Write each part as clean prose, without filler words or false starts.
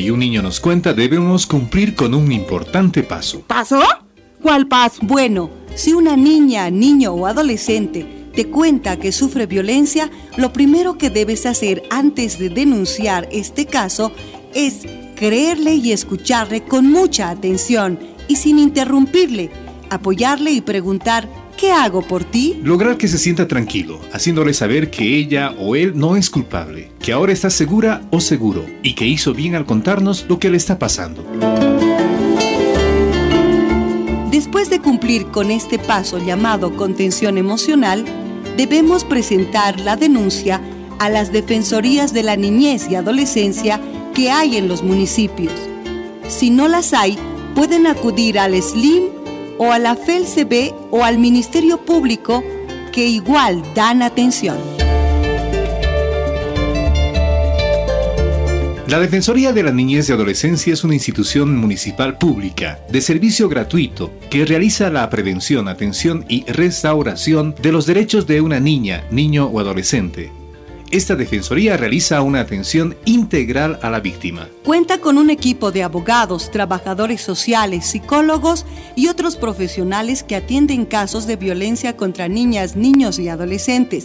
y un niño nos cuenta, debemos cumplir con un importante paso. ¿Paso? ¿Cuál paso? Bueno, si una niña, niño o adolescente te cuenta que sufre violencia, lo primero que debes hacer antes de denunciar este caso es creerle y escucharle con mucha atención y sin interrumpirle, apoyarle y preguntar: ¿qué hago por ti? Lograr que se sienta tranquilo, haciéndole saber que ella o él no es culpable, que ahora está segura o seguro y que hizo bien al contarnos lo que le está pasando. Después de cumplir con este paso llamado contención emocional, debemos presentar la denuncia a las defensorías de la niñez y adolescencia que hay en los municipios. Si no las hay, pueden acudir al SLIM o a la FELCB o al Ministerio Público, que igual dan atención. La Defensoría de la Niñez y Adolescencia es una institución municipal pública de servicio gratuito que realiza la prevención, atención y restauración de los derechos de una niña, niño o adolescente. Esta defensoría realiza una atención integral a la víctima. Cuenta con un equipo de abogados, trabajadores sociales, psicólogos y otros profesionales que atienden casos de violencia contra niñas, niños y adolescentes,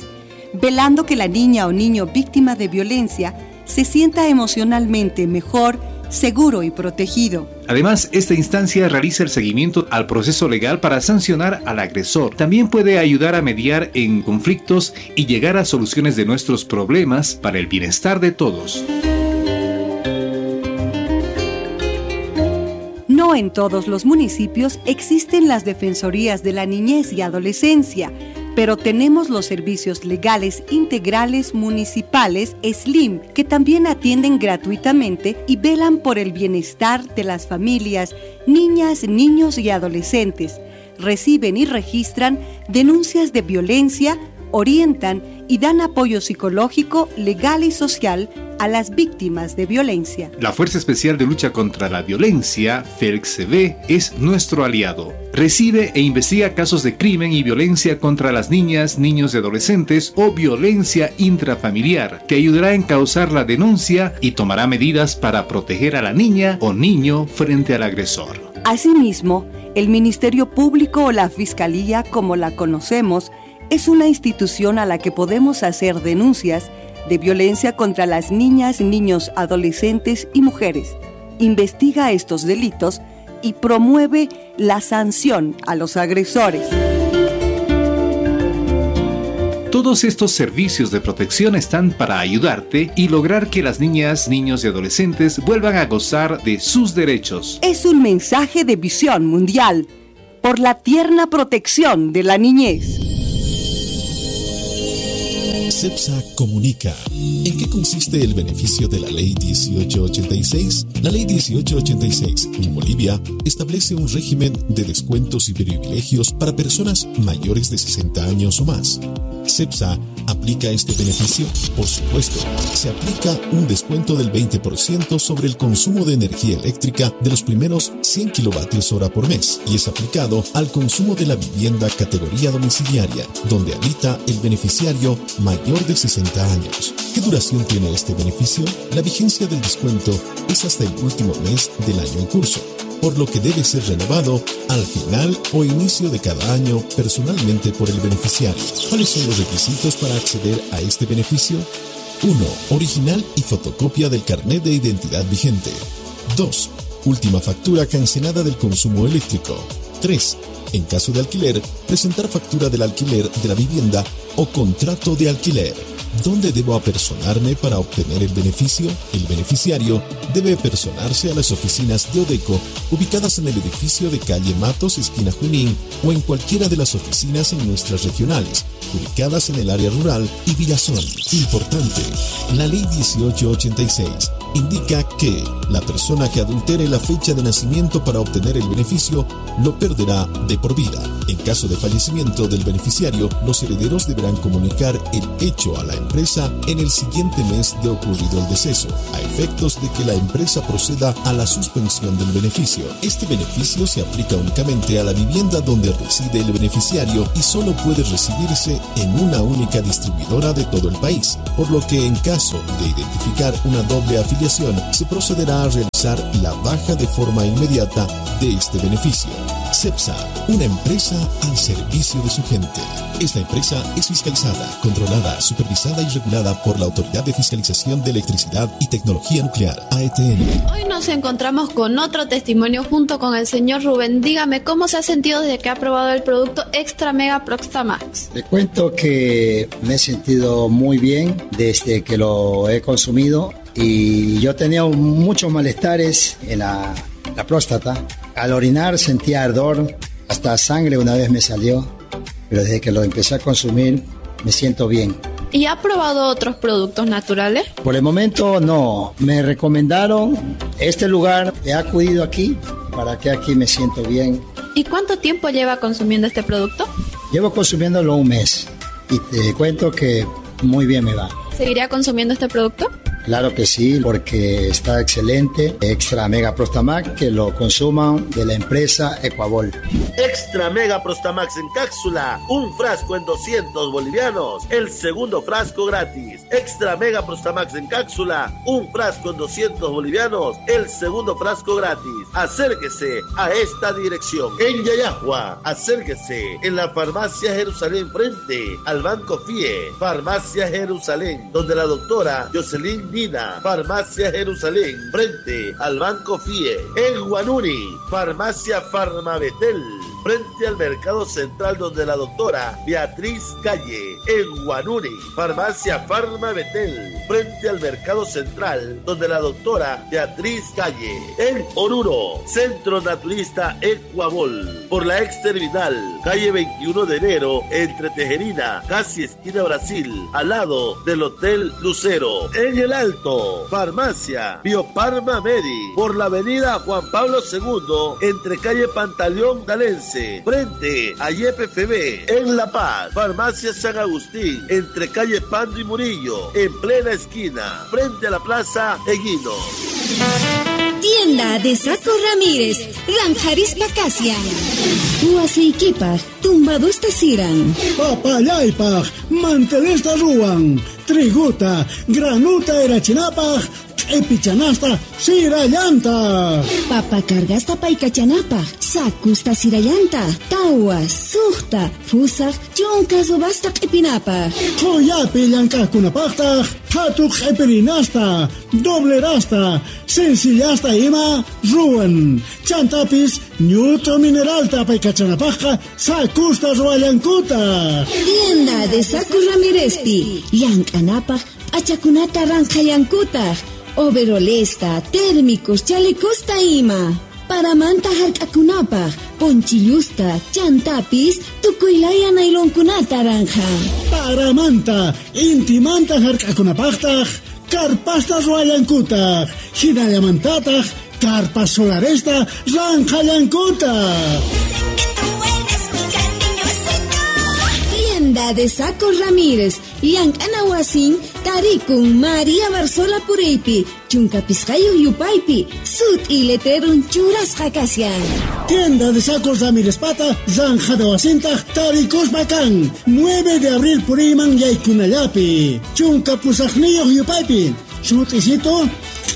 velando que la niña o niño víctima de violencia se sienta emocionalmente mejor, seguro y protegido. Además, esta instancia realiza el seguimiento al proceso legal para sancionar al agresor. También puede ayudar a mediar en conflictos y llegar a soluciones de nuestros problemas para el bienestar de todos. No en todos los municipios existen las defensorías de la niñez y adolescencia, pero tenemos los servicios legales integrales municipales SLIM, que también atienden gratuitamente y velan por el bienestar de las familias, niñas, niños y adolescentes. Reciben y registran denuncias de violencia, orientan y dan apoyo psicológico, legal y social a las víctimas de violencia. La Fuerza Especial de Lucha contra la Violencia, FELCB, es nuestro aliado. Recibe e investiga casos de crimen y violencia contra las niñas, niños y adolescentes o violencia intrafamiliar. Te ayudará a encauzar la denuncia y tomará medidas para proteger a la niña o niño frente al agresor. Asimismo, el Ministerio Público o la Fiscalía, como la conocemos, es una institución a la que podemos hacer denuncias de violencia contra las niñas, niños, adolescentes y mujeres. Investiga estos delitos y promueve la sanción a los agresores. Todos estos servicios de protección están para ayudarte y lograr que las niñas, niños y adolescentes vuelvan a gozar de sus derechos. Es un mensaje de Visión Mundial por la tierna protección de la niñez. CEPSA comunica. ¿En qué consiste el beneficio de la Ley 1886? La Ley 1886 en Bolivia establece un régimen de descuentos y privilegios para personas mayores de 60 años o más. ¿CEPSA aplica este beneficio? Por supuesto, se aplica un descuento del 20% sobre el consumo de energía eléctrica de los primeros 100 kilovatios hora por mes y es aplicado al consumo de la vivienda categoría domiciliaria, donde habita el beneficiario mayor de 60 años. ¿Qué duración tiene este beneficio? La vigencia del descuento es hasta el último mes del año en curso, por lo que debe ser renovado al final o inicio de cada año personalmente por el beneficiario. ¿Cuáles son los requisitos para acceder a este beneficio? 1. Original y fotocopia del carnet de identidad vigente. 2. Última factura cancelada del consumo eléctrico. 3. En caso de alquiler, presentar factura del alquiler de la vivienda o contrato de alquiler. ¿Dónde debo apersonarme para obtener el beneficio? El beneficiario debe apersonarse a las oficinas de Odeco, ubicadas en el edificio de calle Matos, esquina Junín, o en cualquiera de las oficinas en nuestras regionales, ubicadas en el área rural y Villazón. Importante, la Ley 1886 indica que la persona que adultere la fecha de nacimiento para obtener el beneficio lo perderá de por vida. En caso de fallecimiento del beneficiario, los herederos deberán comunicar el hecho a la empresa en el siguiente mes de ocurrido el deceso, a efectos de que la empresa proceda a la suspensión del beneficio. Este beneficio se aplica únicamente a la vivienda donde reside el beneficiario y solo puede recibirse en una única distribuidora de todo el país, por lo que en caso de identificar una doble afiliación, se procederá a realizar la baja de forma inmediata de este beneficio. CEPSA, una empresa al servicio de su gente. Esta empresa es fiscalizada, controlada, supervisada y regulada por la Autoridad de Fiscalización de Electricidad y Tecnología Nuclear, AETN. Hoy nos encontramos con otro testimonio junto con el señor Rubén. Dígame, ¿cómo se ha sentido desde que ha probado el producto Extra Mega Prostamax? Le cuento que me he sentido muy bien desde que lo he consumido y yo tenía muchos malestares en la próstata. Al orinar sentía ardor, hasta sangre una vez me salió, pero desde que lo empecé a consumir me siento bien. ¿Y ha probado otros productos naturales? Por el momento no. Me recomendaron este lugar, he acudido aquí para que aquí me siento bien. ¿Y cuánto tiempo lleva consumiendo este producto? Llevo consumiéndolo un mes y te cuento que muy bien me va. ¿Seguiría consumiendo este producto? Claro que sí, porque está excelente. Extra Mega Prostamax, que lo consuman de la empresa Ecuabol. Extra Mega Prostamax en cápsula, un frasco en 200 bolivianos, el segundo frasco gratis. Extra Mega Prostamax en cápsula, un frasco en 200 bolivianos, el segundo frasco gratis. Acérquese a esta dirección. En Yayajua, acérquese en la Farmacia Jerusalén frente al Banco FIE. Farmacia Jerusalén, donde la doctora Jocelyn Nina. Farmacia Jerusalén, frente al Banco FIE. En Huanuni, Farmacia Farmabetel, frente al Mercado Central, donde la doctora Beatriz Calle. En Huanuni, Farmacia Farmabetel, frente al Mercado Central, donde la doctora Beatriz Calle. En Oruro, Centro Naturista Ecuabol, por la ex terminal, calle 21 de enero, entre Tejerina, casi esquina Brasil, al lado del Hotel Lucero. En el Alto, Farmacia Bioparma Medi, por la avenida Juan Pablo II, entre calle Pantaleón Galense, frente a YPFB. En La Paz, Farmacia San Agustín, entre calle Pando y Murillo, en plena esquina, frente a la Plaza Eguino. Tienda de Saco Ramírez, Ranjarispa Casia. Huaseiquipaj, tumbadusta siran. Papayaypaj, mantelesta ruan. Triguta, granuta erachinapaj, epichanasta, sirayanta. Papa cargasta paykachanapaj, sakusta sirayanta, tawa, suqta, fusaj, chunka subasta q'ipinapaj. Qoyapi llank'aqkunapaqtaq, qhatu q'ipirinasta, doblerasta, sencillasta ima ruwan. Chantapis, ñut'u mineralta paykachanapaqqa, sakusta ruwallankutaq. Tienda de Saco Ramírezpi, llank'anapaq, p'achakunata ranqhallankutaq. Overolesta, térmicos, chalecosta ima. Paramanta hark'akunapaq, ponchillusta, chantapis, tukuylaya nailonkunata ranja. Paramanta, intimanta hark'akunapaqtaq, karpasta ruwallankutaq, hinallamantataq, karpa solaresta ranqhallankutaq. Tienda de Saco Ramírez, llank'ana wasin, tarikun María Barzola Puraypi, chunka pisqayuq yupaypi, sut'i letrerun churasqa kashan. Tienda de Sacos Ramírez Pata, zanjada wasintaq, tarikuspa kan, 9 de abril puriyman yaykunallapi, chunka pusaqniyuq yupaypi, sut'isito,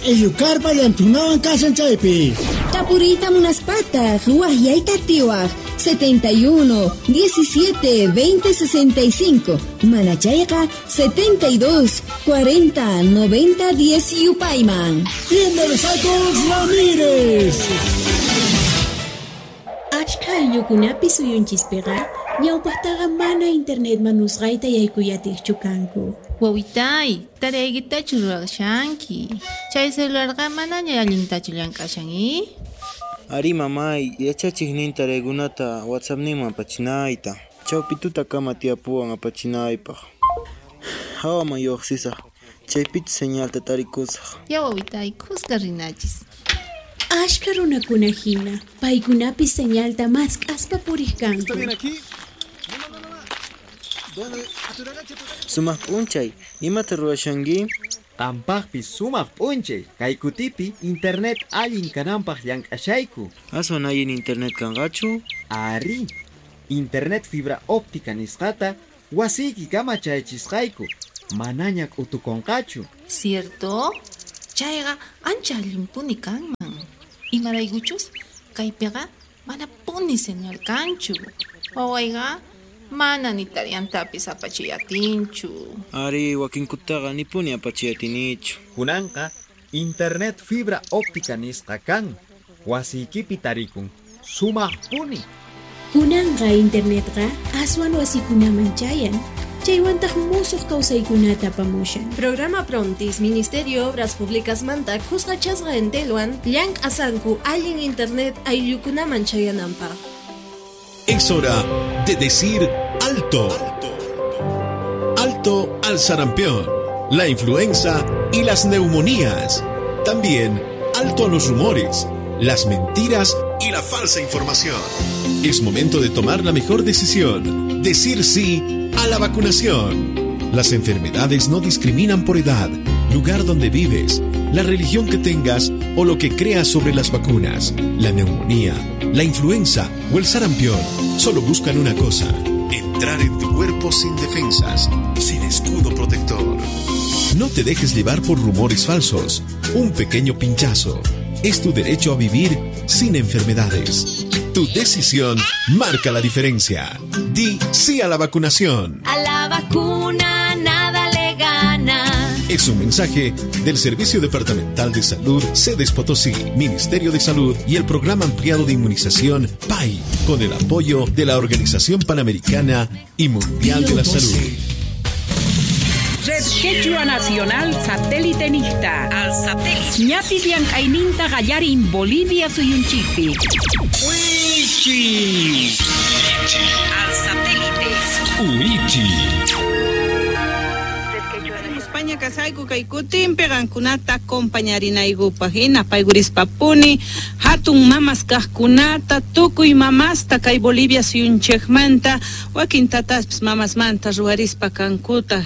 Eyukarpa llantunawan kashan chaypi. Tapuriyta munaspataq, waqyayta atiwaq, 71 17 20 65, manachayqa 72 40 90 10 yupayman. Tienda de Sacos Ramírez. Achka ayllukunapi suyunchispiqa ñawpaqtaqa mana internet manusqayta yaykuyatiqchu kanku. Wawitay, taraykitachu ruwashanki. Chay celularqa manaña allintachu llank'ashan, i? Ari mamay, yachachiqnin taraykunata WhatsAppninman apachinayta. Chawpituta kama tiyapuwan apachinaypaq. Hawaman lluqsisaq, chaypichu señalta tarikusaq. Ya wawitay, kuska rinachis. Ashka runakuna hina, paykunapis señalta mask'aspa puriq kanku. ¿Está bien aquí? Sumaq p'unchay, imata ruwashanki? Qampaqpis sumaq p'unchay, kay kutipi internet allin kananpaq llank'ashayku. Aswan allin internet kanqachu? Ari, internet fibra óptica nisqata wasiykikama chayachisqayku, manaña k'utukunqachu. Cierto? Chayqa ancha allinpuni kanman. Imaraykuchus kaypiqa manapuni señal kanchu. Wawayqa mana ni tariyantapis apachiy atinchu. Ari, wakinkutaqa nipuni apachiy atinichu. Kunanqa internet fibra óptica nisqa kan, wasiykipi tarikun, sumaqpuni. Kunanqa internetqa aswan wasikunaman chayan. Chaywantaq musuq kawsaykunata apamushan. Programa Prontis, Ministerio Obras Públicas manta kusqachasqa Entelwan llank'asanku allin internet ayllukunaman chayananpaq. Es hora de decir alto. Alto al sarampión, la influenza y las neumonías. También alto a los rumores, las mentiras y la falsa información. Es momento de tomar la mejor decisión. Decir sí a la vacunación. Las enfermedades no discriminan por edad, lugar donde vives, la religión que tengas o lo que creas sobre las vacunas. La neumonía, la influenza o el sarampión solo buscan una cosa: entrar en tu cuerpo sin defensas, sin escudo protector. No te dejes llevar por rumores falsos. Un pequeño pinchazo es tu derecho a vivir sin enfermedades. Tu decisión marca la diferencia. Di sí a la vacunación. A la vacuna nada le gana. Es un mensaje del Servicio Departamental de Salud, Sedes Potosí, Ministerio de Salud y el Programa Ampliado de Inmunización PAI, con el apoyo de la Organización Panamericana y Mundial de la Salud. Red Quechua Nacional Satélite Nista. Al satélite. Ñapis llank'ayninta qallarin Bolivia suyunchikpi. Wichi. Al satélite. Wichi. España kasayku kay kutinpi qankunata acompañarinaykupaq hina paygurispapuni hatun mamas kaqkunata tukuy mamasta kay Bolivia suyunchikmanta wakin tataspis mamasmanta ruwarispa kankuta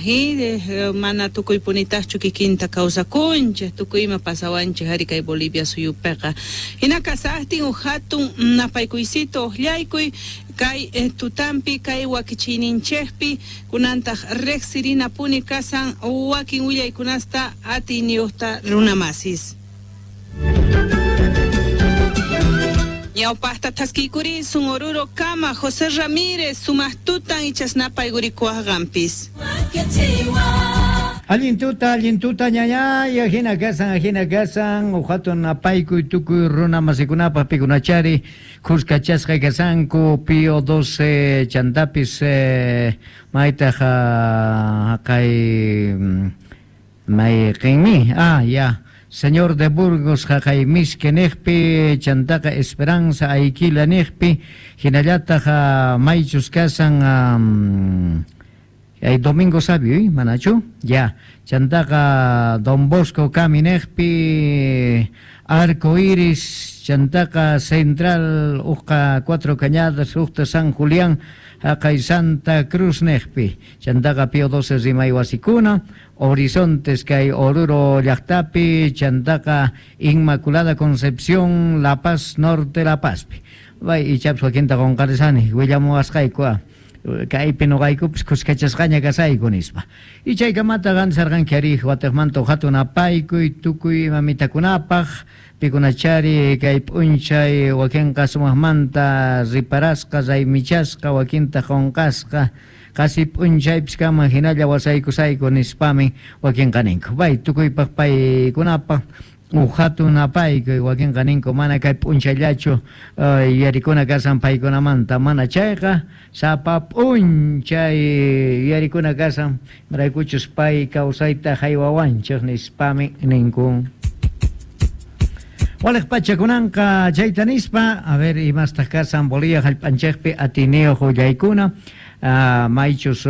mana tukuypunitaqchu kikinta kawsakunchik tukuy ima pasawanchik ari kay Bolivia suyupiqa hina kasaqtin uq hatun napaykuysito uqllaykuy kay tutampi kay wakichiyninchikpi kunantaq riqsirinapuni kasan wakin willaykunasta atiyniyuqta runamasis. Ñawpaqta thaskiykurisun Oruro kama José Ramírez sumaq tutan ichasnapaykurikuwaqanpis. Allin tuta ñañay, ajina kasan, uhatun napaykuy tukuy runa masikunapaq pikunachari, kuskachasqa kasanku, Pío 12 chantapis maytaq kay mayqinmi, ya. Señor de Burgos jaqay miski niqpi, chantaqa Esperanza Ayquila niqpi, hinallataq maychus kasan ay Domingo Sabio, manachu? Ya, chantaqa Don Bosco kami niqpi, Arco Iris, chantaqa Central, uqa Cuatro Cañadas, uqta San Julián, jaqay Santa Cruz niqpi, chantaqa Pío 12 rimay wasikuna, Horizontes kay Oruro llaqtapi, chantaqa Inmaculada Concepción, La Paz Norte, La Pazpi. Bay ichapas wakinta qunqarisani, willamuwasqayku kaypi nuqaykupis kuskachasqaña kasayku nispa. Y chaykamata qansarqanki ari watiqmanta hatun apaykuy tukuy mamitakunapaq pikunachari kay p'unchay wakinqa sumaqmanta riparasqa raymichasqa wakinta qunqasqa qasi p'unchaypis kaman hinalla wasaykusayku nispami wakinqa ninku. Bay tukuypaq paykunapaq uhatun apaykuy wakinqa ninku mana kay p'unchayllachu yarikuna kasan paykunamanta mana chayqa sapa p'unchay yarikuna kasan maraykuchus pay kawsayta haywawanchik nispami ninku. Waliq pachakunanqa chayta nispa, a ver imastaq kasan Bolivia hallp'anchikpi atiniyuq willaykuna. Maychus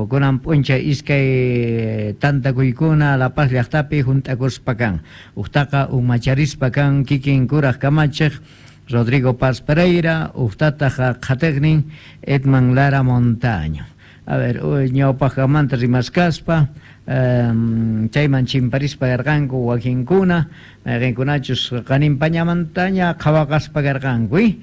kunan p'unchay iskay tantakuykuna La Paz llaqtapi hunt'akuspa kan. Uqtaqa umacharispa kan kikin kuraq kamachiq Rodrigo Paz Pereira, uqtataq qhatiqnin Edman Lara Montaño. A ver, ñawpaqmanta rimaskaspa chayman chimparispa karqanku wakinkuna, mayqinkunachus qaninpañamantaña qhawaqaspa karqanku,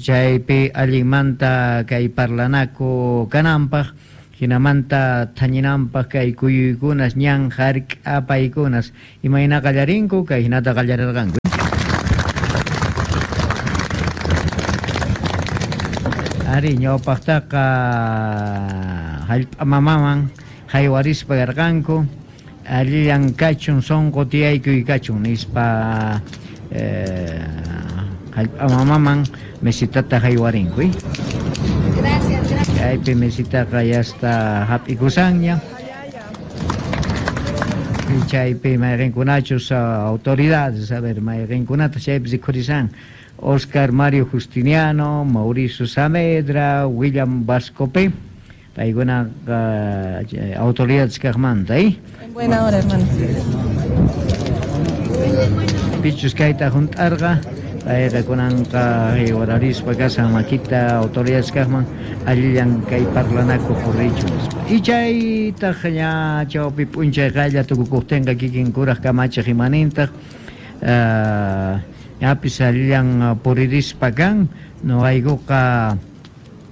chaypi allinmanta kay parlanaku kananpaq, hinamanta thañinanpaq kay kuyuykunas ñan hark'apaykunas imayna qallarinku kay hinata qallarirqanku. Ari ñawpaqtaqa hallp'a mamaman haywarispa karqanku, allillan kachun sunqu tiyaykuy kachun nispa hallp'a mamaman mesitata haywarinku. Gracias, gracias. Chaypi mesitaqa yasta hap'ikusanña. Chaypi mayqinkunachus autoridades, a ver, mayqinkunata chaypi rikhurisan. Oscar Mario Justiniano, Mauricio Samedra, William Vascope, paykuna autoridades kaqmanta, En buena hora, hermano. Pichus kayta hunt'arqa, payqa kunanqa wararispa kasan makita autoridades kaqman allillan kay parlanaku purichu nispa. Y chaytaq ña chawpi p'unchay qaylla tukukuqtinqa kikin kuraq kamachiq imanintaq, ñapis allillan puririspa kan, noqaykuqa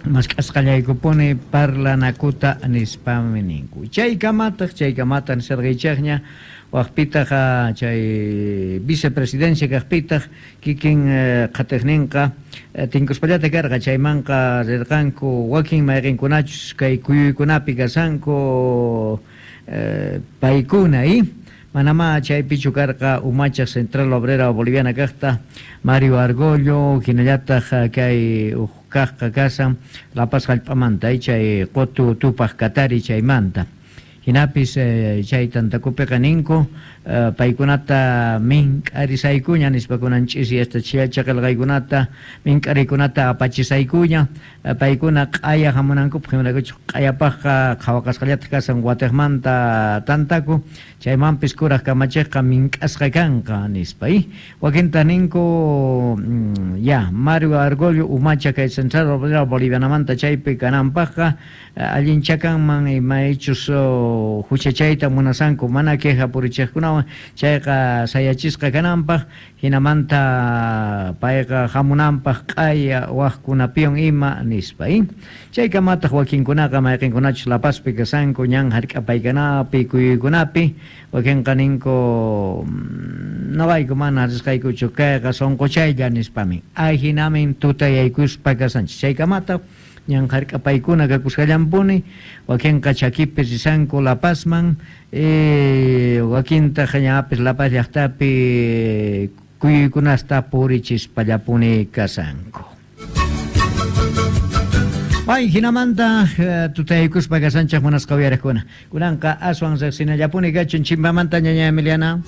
mask'asqallaykupuni parlanakuta nispami ninku. Chaykamataq nisarqaychaqña waqpitaq chay vicepresidencia kaqpitaq kikin qhatiqninqa tinkuspallata karqa, chaymanqa rirqanku wakin mayqinkunachus kay kuyuykunapi kasanku paykuna, manamá chaypichu karqa umacha Central Obrera Boliviana kaqta Mario Argollo, hinallataq kay uq kaqqa kasan La Paz hallp'amanta, chay qutu tupaq katari chaymanta. Hinapis chay tantakupiqa ninku paykunata mink'arisaykuña nispa kunan ch'isi hasta chillachaqilqaykunata mink'arikunata apachisaykuña, paykuna q'aya hamunankupaq, imaraykuchus q'ayapaqqa qhawaqasqallataq kasan watiqmanta tantaku, chaymanpis kuraq kamachiqqa mink'asqa kanqa nispa. Wakinta ninku ya Mario Argollo umacha kay Central Obrera Bolivianamanta chaypi kananpaqqa allinchakanman imaychus huchachayta munasanku mana queja purichiqkunawan chayqa sayachisqa kananpaq, hinamanta payqa hamunanpaq q'aya waqkunapiwan ima nispa. Chaykamataq wakinkunaqa mayqinkunachus La Pazpi kasanku ñan hark'apaykanapi kuyuykunapi, wakinqa ninku noqayku mana risqaykuchu kayqa sunquchaylla nispamin. Ahinamin tutayaykuspa kasanchis. Chaykamataq ñan hark'apaykuna kakusqallanpuni, wakinqa chakipi risanku La Pazman, wakintaq ñapis La Paz llaqtapi kuyuykunasta purichispallapuni kasanku. Ay, hinamanta tutaykuspa kasanchaq munasqa uyariqkuna. Kunanqa aswan riqsinallapuni kachun chimpamanta ñaña Emiliana.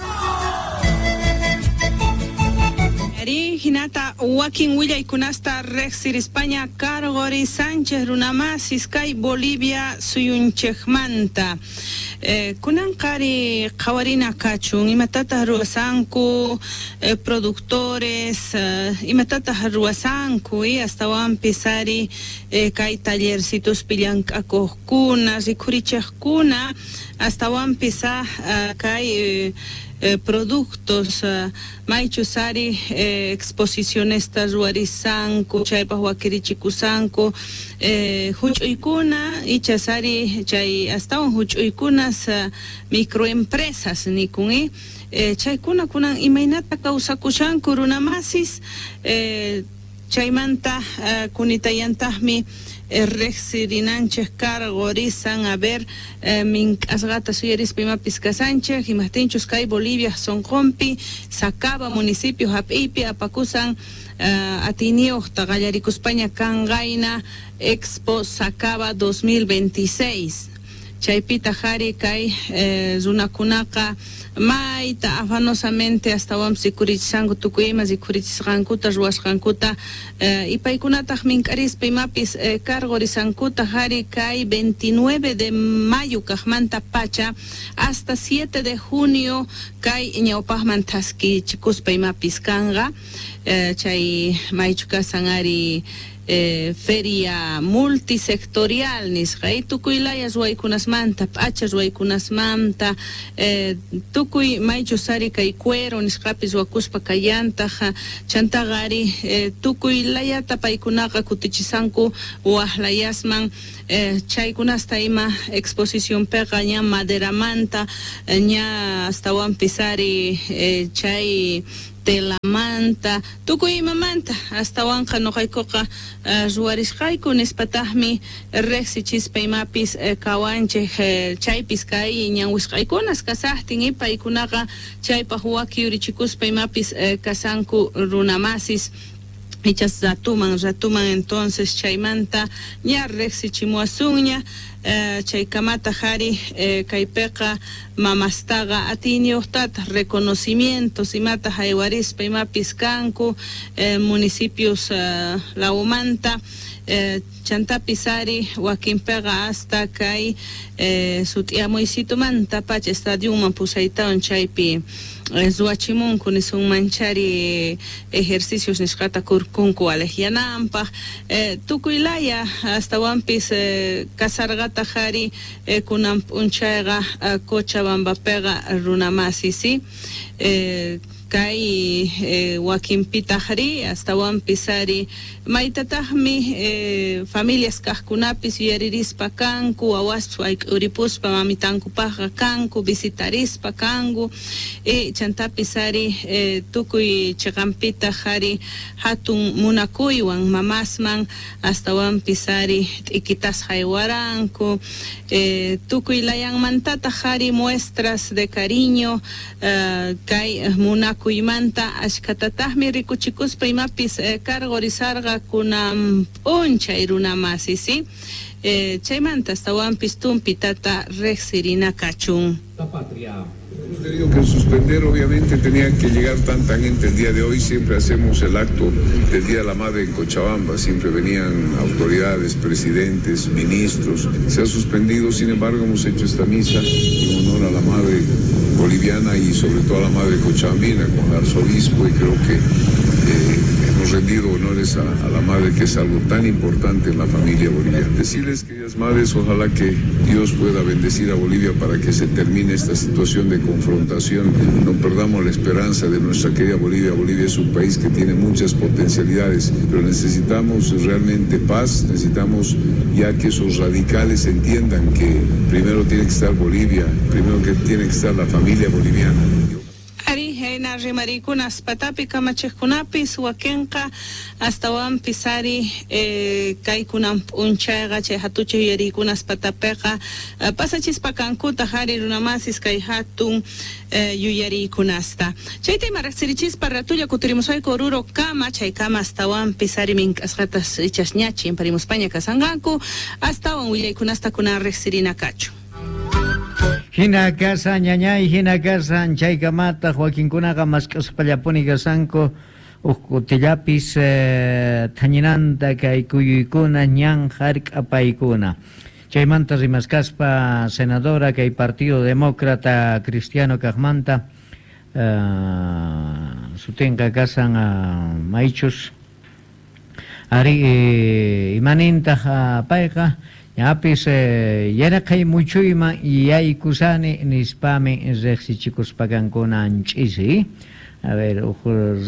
Hinata wakin willaykunasta riqsirispaña Cargori Sánchez runamasis kay Bolivia suyunchikmanta. Kunanqari qhawarina kachun imatataq ruwasanku productores, imatataq ruwasanku astawanpis ari kay tallercituspi llank'akuqkuna rikhurichiqkuna astawanpis kay productos maychus ari exposicionesta ruwarisanku chaypaq wakirichikusanku huch'uykuna ichas ari chay astawan huch'uykunas microempresas nikun chaykuna kunan imaynata kawsakushanku runamasis chaymanta kunitayantaqmi riqsirinanchik cargorisan a ver mink'asqata suyarispa imapis kasanchik imaqtinchus kay Bolivia sunqunpi Sacaba municipio hap'iypi apakusan atiniyuqta qallarikuspaña kanqayna Expo Sacaba 2026 chaypitaq ari kay runakunaqa mayta afanosamente astawanpis rikurichisqanku tukuy ima rikurichisqankuta ruwasqankuta y paykunataq mink'arispa imapis cargorisankuta ari kay 29 de mayo kaqmanta pacha hasta 7 de junio kay ñawpaqman thaskichikuspa imapis kanqa chay maychu kasan ari Feria multisectorial nisqa tukuy laya ruwaykunasmanta p'acha ruwaykunasmanta tukuy maychus ari kay cuero nisqapis ruwakuspa kallantaq chantaqa ari tukuy layata paykunaqa kutichisanku waq layasman chaykunasta ima exposicionpiqa ña maderamanta ña astawanpis ari chay telamanta tukuy imamanta astawanqa nuqaykuqa ruwarisqayku nispataqmi riqsichispa imapis kawanchik chaypis kay ñanwisqaykunas kasaqtin y paykunaqa chaypaq waki yurichikuspa imapis kasanku runamasis ichas ratuman entonces chaymanta ña riqsichimuwasunña chaykamata ari kaypiqa mamastaqa atiyniyuqtataq reconocimientos imata haywarispa imapis kanku municipios lawmanta chantapis ari wakinpiqa hasta kay sut'iyamuysitumanta pacha estadionman pusaytawan chaypi ruwachimunku nisunmanchari ejercicios nisqata kurkunku aleqyananpaq tukuy laya astawanpis kasarqataq ari kunan p'unchayqa Cochabambapiqa runamasi si kay wakinpitaq ri astawanpis ari maytataqmi familias kaqkunapis yuyaririspa kanku wawaspas wayk'uripuspa mamitankupaqqa kanku visitarispa kanku chantapis ari tukuy chiqanpitaq ari hatun munakuywan mamasman astawanpis ari t'ikitas haywaranku tukuy layanmantataq ari muestras de cariño kay munakuymanta ashkatataqmi rikuchikuspa imapis cargorizarqa kunan p'unchay runamasi si chaymanta astawanpis tumpitata riqsirina kachun. La patria. Hemos tenido que suspender, obviamente tenía que llegar tanta gente el día de hoy, siempre hacemos el acto del Día de la Madre en Cochabamba, siempre venían autoridades, presidentes, ministros, se ha suspendido, sin embargo hemos hecho esta misa en honor a la Madre boliviana y sobre todo a la Madre cochabambina con el arzobispo, y creo que hemos rendido honores a la Madre, que es algo tan importante en la familia boliviana. Decirles, queridas madres, ojalá que Dios pueda bendecir a Bolivia para que se termine esta situación de confrontación. No perdamos la esperanza de nuestra querida Bolivia. Bolivia es un país que tiene muchas potencialidades, pero necesitamos realmente paz, necesitamos ya que esos radicales entiendan que primero tiene que estar Bolivia, primero que tiene que estar la familia boliviana. Ari rimarikunas patapi kamachiqkunapis wakinqa astawanpis ari kaykunan p'unchayqa chay hatuchay yuyarikunas patapiqa pasachispa kankutaq ari runamasis kay hatun yuyarikunasta. Chayta ima riqsirichispa ratulla kutirimusqayku Oruro kama chaykama astawanpis ari mink'asqatas ichas ña chimparimuspaña kasanqanku astawan willaykunasta kunan riqsirina kachu. Hina kasan ñañay, hina kasan chaykamataq wakinkunaqa mask'aspallapuni kasanku huk kutillapis thañinanta kay kuyuykuna ñan hark'apaykuna. Chaymanta rimaskaspa senadora kay Partido Demócrata Cristiano kaqmanta sutinqa kasan maychus ari imanintaq payqa ñapis yaraqay muchuyman yaykusani nispami riqsichikuspa ch'isi. A ver, uj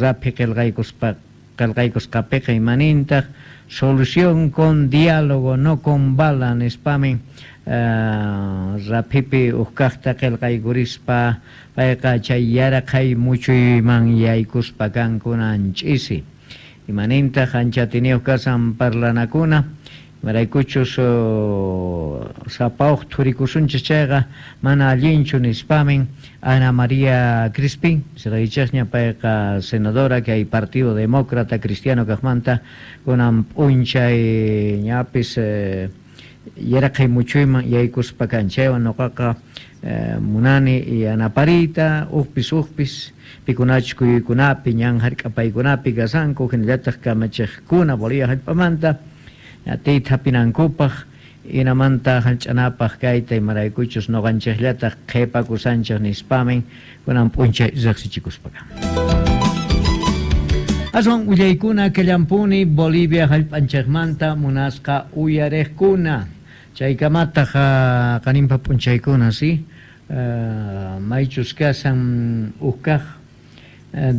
rapi qillqaykusqapiqa imanintaq solución con diálogo no con bala nispami rapipi uj kaqta qillqaykurispa payqa chay yaraqay muchuyman yaykuspa kankunan ch'isi. Imanintaq anchatiniyuq kasan parlanakuna maraykuchus sapawq thurikusunchis chayqa mana allinchu nispamin Ana María Crispín siraychaqña payqa senadora kay Partido Demócrata Cristiano kaqmanta kunan p'unchay ñapis yaraqay muchuyman yaykuspa kan chaywan nuqaqa munani yanapariyta uqpis pikunachus kuyuykunapi ñan hark'apaykunapi kasanku hinallataq kamachiqkuna Bolivia hallp'amanta atiyta hapinankupaq inamanta hallch'anapaq kayta imaraykuchus nuqanchiqllataq qhipakusanchik nispamin kunan p'unchay riqsichikuspa kan. Aswan willaykuna kallampuni Bolivia hallp'anchikmanta munasqa uyariqkuna. Chaykamataq qaninpa p'unchaykuna, si maychus kasan ukkaq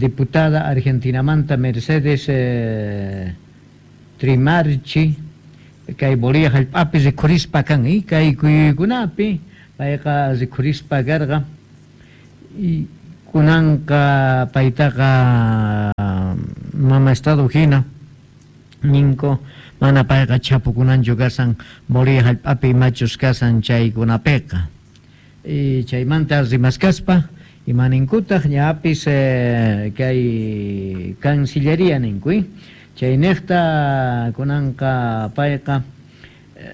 diputada Argentinamanta Mercedes Trimarchi kay Bolivia hallp'api rikhurispa kan, kay kuyuykunapi payqa rikhurispa karqa y kunanqa paytaqa mama estado hina ninku mana payqa chapukunanchu kasan Bolivia hallp'api imachus kasan chaykunapiqa. Y chaymanta rimaskaspa imaninkutaq ñapis kay Cancillería ninku, chayniqta kunanqa payqa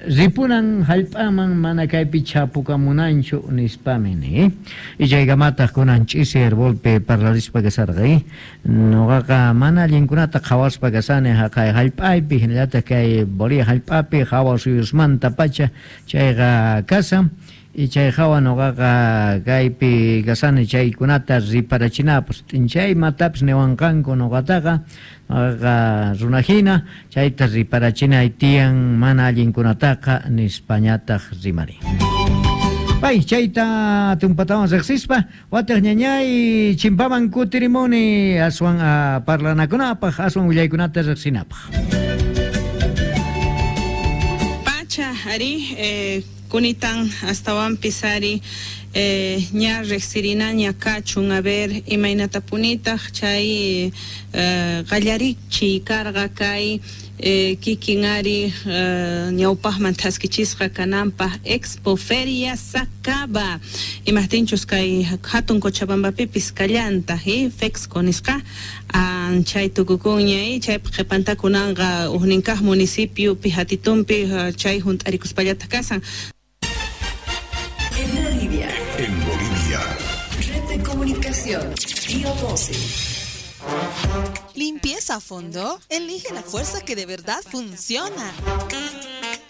ripunan hallp'aman mana kaypi chapukamunanchu nispami ni. Y chaykamataq kunan ch'isi herbolpi parlarispa kasarqa, nuqaqa mana allinkunata qhawaspa kasani haqay hallp'aypi hinallataq kay Bolivia hallp'api hawa suyusmanta pacha chayqa kasan. Y chay hawa nuqaqa kaypi kasani chaykunata riparachinapaq chay imatapis niwanqanku nuqataqa nuqaqa runahina chayta riparachinay tiyan mana allinkunataqa nispañataq rimari. Pay chayta tumpatawan riqsispa wataq ñañay chimpaman kutirimuni aswan parlanakunapaq aswan willaykunata riqsinapaq. Pacha ari kunitan astawanpis ari ña riqsirinaña kachun a ver imaynatapunitaq chay qallarichiy karqa kay kikin ari ñawpaqman thaskichisqa kananpaq Expo Feria Sacaba imaqtinchus kay hatun Cochabambapipis kallantaq Fexco nisqa chay tukukunña chaypi qhipantakunanqa hukninkaq municipiopi hatitunpi chay hunt'arikuspallataq kasan. En Bolivia. En Bolivia. Red de comunicación. Pío 12. Limpieza a fondo. Elige la fuerza que de verdad funciona.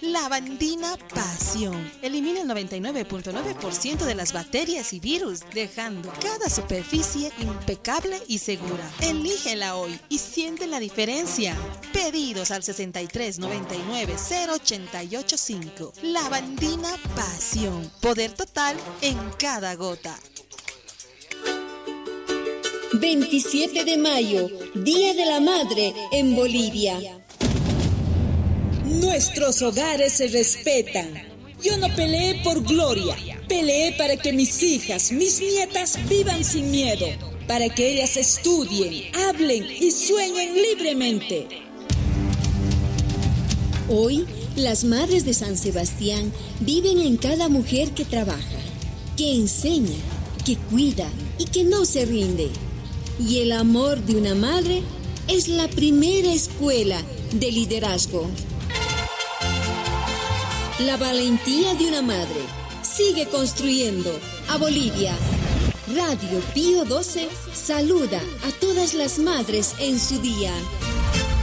Lavandina Pasión. Elimina el 99.9% de las bacterias y virus, dejando cada superficie impecable y segura. Elígela hoy y siente la diferencia. Pedidos al 63 99 088 5. Lavandina Pasión. Poder total en cada gota. 27 de mayo, Día de la Madre en Bolivia. Nuestros hogares se respetan. Yo no peleé por gloria, peleé para que mis hijas, mis nietas vivan sin miedo, para que ellas estudien, hablen y sueñen libremente. Hoy, las madres de San Sebastián viven en cada mujer que trabaja, que enseña, que cuida y que no se rinde. Y el amor de una madre es la primera escuela de liderazgo. La valentía de una madre sigue construyendo a Bolivia. Radio Pío 12 saluda a todas las madres en su día.